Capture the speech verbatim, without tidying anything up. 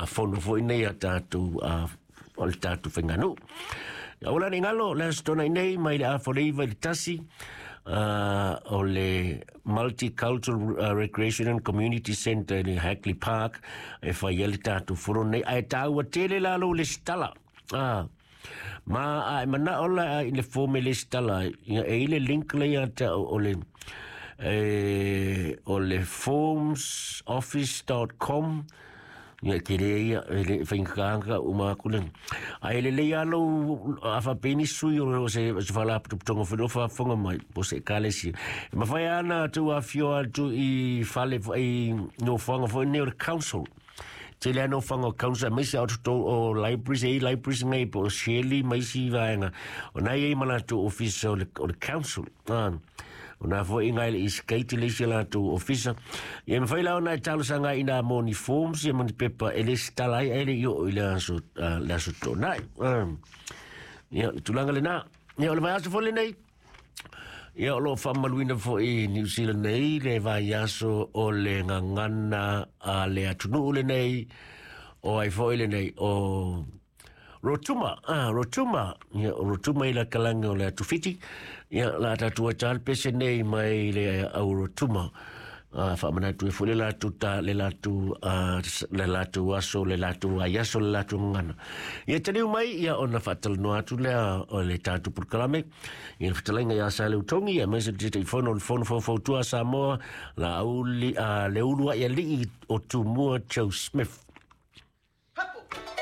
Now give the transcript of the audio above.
fono foi nei a tatou o le tatou faiganuu. Ia ua la nei galo le aso Toonai nei mai le afa o le iva i le tasi o le Multicultural Recreation and Community Centre i le Hagley Park e fai ai le tatou fono nei, ae taua tele la lou lesitala. Ma a e manao la i le form e lesitala ai, ia e i le link lea ia te au o le e o le forms office dot com. Ia e tele ia e le faigata uma atu le ae lelei lava lou a faapea nisi sui o se se faalapotopotoga foi lea o faafofoga mai po o se ekalesia e mafai lava ona tou afifio atu i fale i nofoaga foi nei o le council. Tele lava nofoaga o council aemaise lava o totonu o libraries, e i ai libraries nei po o Shirley ma isi vaega o na e i ai ma latou ofisa o le o le council. O na foi ngai le Eastgate le isi latou ofisa. Ia e mafai la ona e talosaga ai ina mo ni forms ia ma ni pepa e lesitala ai ae le i oo i le aso, uh, le aso Toonai. Uh, ia, le tulaga lena. Ia, o le vaiaso foi lenei, ia o lo o faamaluina foi i New Zealand nei le vaiaso o le gagana a le atunuu lenei, o ai foi lenei, o Rotuma, ah, Rotuma, ia, o Rotuma i la kalagi o le atu Fiti, ia, la tatou ai tā le pese nei mai le au Rotuma. Ah, faamanatu ai foi le latou ta, le latou, ah, le latou aso, le latou vaiaso, le latou gagana. Ia taliu mai, ia, ona faatalanoa atu lea o le tatou polokalame, ia le fetalaiga ia Saleutogi, aemaise le Taitaifono o le Fono Faufautua a Samoa, la auli, ah, le uluai alii o Tumua Joe Smith.